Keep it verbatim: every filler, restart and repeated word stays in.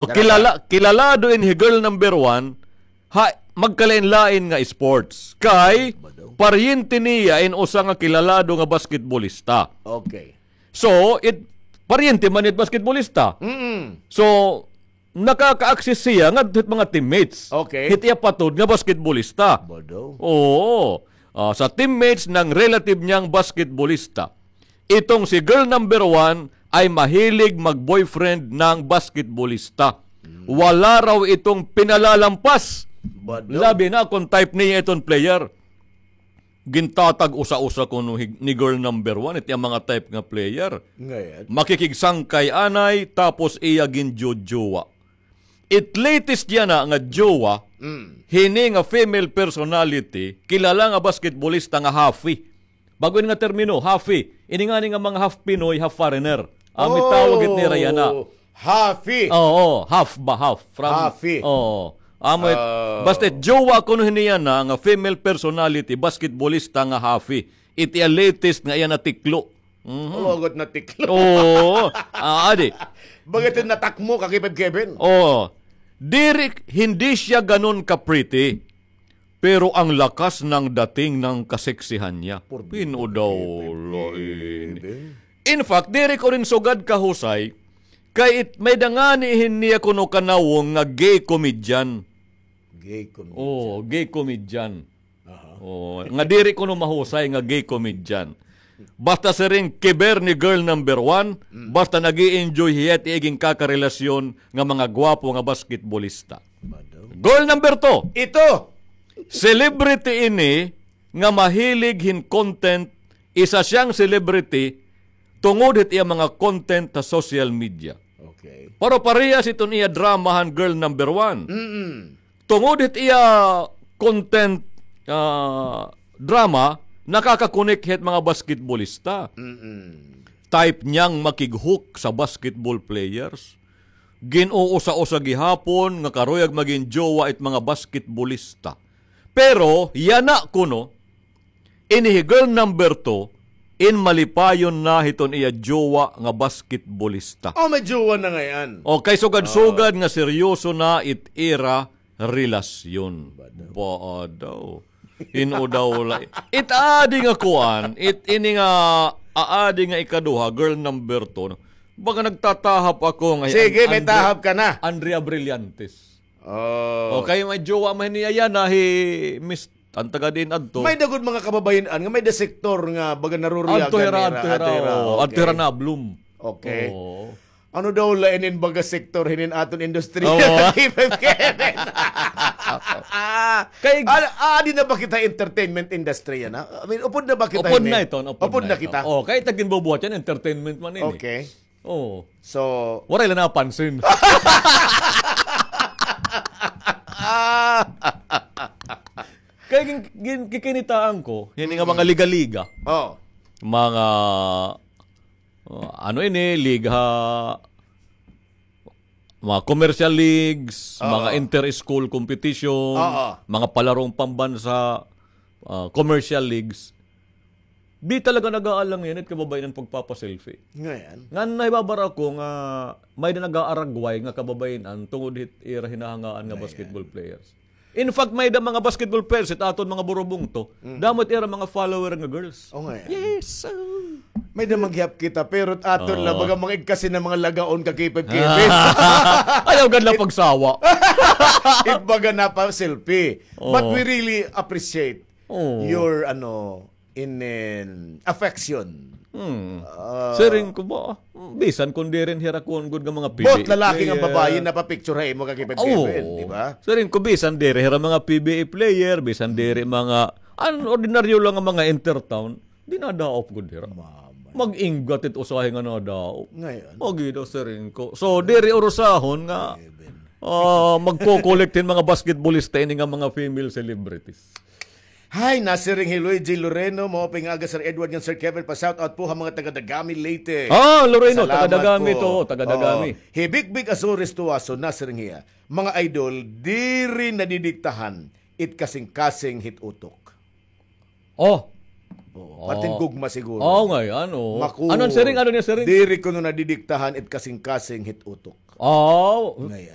Kilala, kilalado ini hi girl number one, ha, magkalain-lain nga sports. Kay, paryente niya in usa nga kilalado nga basketballista. Okay. So, it, paryente man it basketballista. Mm-mm. So, nakaka-access siya ngadto hit mga teammates. Okay. Hit iya patod nga basketballista. Bado. Oo. Ah, sa teammates ng relative niyang basketballista. Itong si girl number one ay mahilig mag-boyfriend ng basketballista. Hmm. Wala raw itong pinalalampas. Bado. Labi na kung type niya iton player. Gintatag-usa-usa kuno hi-, ni girl number one, iti ang mga type nga player. Ngayon. Makikigsangkay anay, tapos iya ginjojowa. It latest yana nga jowa, mm, hini nga female personality, kilala nga basketballista nga Hafi. Bag-o ini nga termino, Hafi. Ini ngani nga mga half Pinoy, half foreigner. Ang mitawag it nira yana. Oh, Hafi. Oo, half ba, half. From, Hafi. Oo. Amo it, oh, basta jowa kuno hini yana nga female personality, basketballista nga Hafi. Iti iya latest nga iya natiklo. Mhm. Hugot na tiklo. Oo. Ah, adi. Baga ito natakmo ka kay Kevin. Oo. Diri, hindi siya ganun ka-pretty. Pero ang lakas ng dating ng kaseksihan niya. Por Pino daw, Kevin. In fact, diri ko rin sugad kahusay, kay it, may-ada ngani hini niya kuno kanawong nga gay comedian. Gay comedian. Oo, gay comedian. Aha. Oo, nga diri kuno mahusay nga gay comedian. Basta siring kiber ni girl number one, mm, basta nag-i-enjoy hiya it iya ginkarelasyon nga mga gwapo nga basketballista. Bado. Girl number two. Ito. Celebrity ini nga mahilig hin content, isa siyang celebrity tungod hit iya mga content sa social media. Okay. Pero parehas iton iya drama han girl number one. Mm-mm. Tungod hit iya content, ah, drama, nakaka-connect hit mga basketballista. Mm-mm. Type niyang makighook sa basketball players. Gin-uusa-usa gihapon nga karuyag magin jowa it mga basketballista. Pero, yana kuno, ini hi girl number two, in malipayon na hiton iya jowa nga basketballista. Oh, may jowa na ngay-an. O, kay sugad-sugad nga seryoso na it ira relasyon. Ba daw? Ba daw? Hino daw la-, it aadi nga kuan, it ini nga aadi nga ikaduha, girl number two, no? Baga nagtatahap ako nga hi Sige, An-, may Andrea, tahap ka na. Andrea Brillantes. Oh. O, kay may jowa man niya yana, hi Miss, an taga diin adto. May-ada gud mga kababayen-an nga may-ada sektor nga baga naruriyagan nira, adto hira, adto hira, oo, adto hira na-bloom. Okay. Oo. Ano daw la inin baga sektor hinin aton industriya? Oo. Kay, ah, di na ba kita entertainment industry yana? I mean, upod na ba kita? Upod na iton, upod na kita. Oh, kay it ginbubuhat yana, entertainment man ini. Okay. Oo. So, waray la napansin. Kay gin-, gin-, kikinitaan ko, hini nga mga liga-liga. Oh. Mga Oh, ano ini, liga, mga commercial leagues, oo, mga inter-school competition, oo, mga palarong pambansa, ah, commercial leagues. Di talaga nag-aalangan it kababayen-an pagpapa-selfie. Ngayon? Ngan nahibabara ko nga may-ada nag-aaragway nga kababayen-an tungod hit ira hinahangaan nga basketball players. In fact, may-ada mga basketball players, it aton mga burubungto, mm, damo it ira mga follower nga girls. O nga yan. Yes. May-ada manggihap kita, pero it aton la, baga mga igkasi na mga lagaon ka K five Kevin. Ayaw gad la pagsawa. It baga na pa selfie. But we really appreciate your, ano, in, in affection. Hmm. Ah. Siring ko ba, bisan kon diri hira kuan gud nga mga P B A player. Both lalaki ngan babaye napapicture ha imo ka K five Kevin, di ba? Siring ko bisan diri hira mga P B A player, bisan diri mga, an, ordinaryo lang nga mga intertown, dinadaop gud hira. Mag-inggat it usahay nga nadaop. Ngayon. Magi daw siring ko. So, diri urusahon nga, ah, magko-collect hin mga basketballista ini nga mga female celebrities. Hi, nasiring hi Luigi Loreno, maupay nga aga, Sir Edward ngan Sir Kevin, pa-shout out po ha mga taga Dagami, Leyte. Ah, Loreno, taga Dagami to, taga Dagami. Hi Big Big Azores Tuaso, nasiring hiya, mga idol, diri nadidiktahan it kasingkasing hit utok. Oh. Oo. Parting gugma siguro. Oo, ngay-an, oo. Maku- Ano an siring? Ano niya siring? Diri kuno nadidiktahan it kasingkasing hit utok. Oo. Ngay-an.